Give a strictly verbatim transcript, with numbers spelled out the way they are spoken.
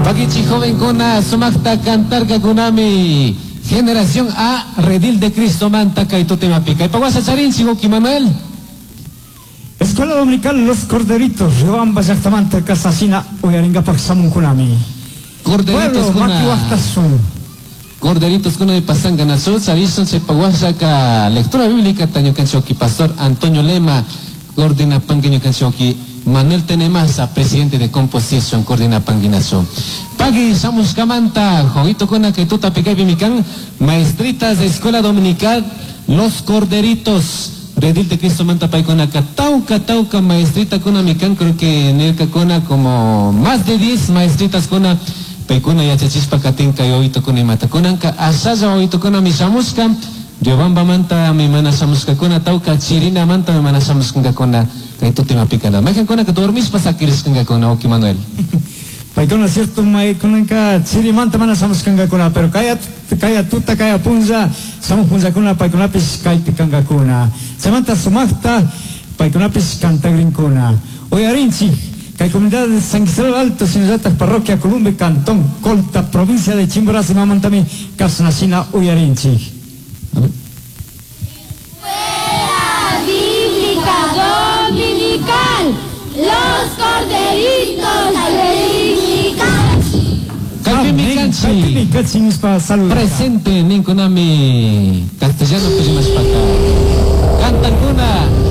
Pakichi jovenkuna sumaqta cantarkakunami Generación A Redil de Cristo manta kay tutemapi. Kay pawasa charinchik Oki Manuel. Escuela Dominical Los Corderitos, Riobamba llaqtamanta kasasina uyarinkapak shamunkunami. Corderitos Pueblo kuna. makiwaqtasun. Corderitos kuna de pasanga nasu charishun chay pawasaka lectura bíblica tañukanchik pastor Antonio Lema coordina panguiñukanchik Manuel Tenemasa, presidente de Composition, coordina panguinazo. Pagui shamushkamanta, jovito kuna que tuta picay mikan, maestritas de Escuela Dominical, Los Corderitos, Redil de Cristo manta paikuna ka tauka tauka maestrita kuna mikan, creo que nirka kuna como más de diez maestritas kuna paikuna yachachispa katinka yoito kuna imata kunanka ashalla oito kuna mi shamushka Riobamba manta mi mana shamushka kuna tauka chirina manta mi mana shamushka kuna kay tutima pikana maykan kuna ka dormishpa sakirishka kuna Oki Manuel. Paykuna cierto maykunanka chirimanta mana shamushkankakuna, pero kaya kaya tuta kaya punlla shamuq punllakuna paykunapish kaypi kankakuna. Chaymanta sumaqta paykunapish cantagrinkuna. Uyarinchik kay comunidad de San Isidro Alto, shinallatak parroquia Columbe, cantón Colta, provincia de Chimborazo, imamantami kasnashina uyarinchik. Escuela Bíblica Dominical, Los Corderitos de Kaypimi kanchik. Kaypimi kanchik nispa saludos. Presente ninkunami castellano pirimashpaka. Cantankuna.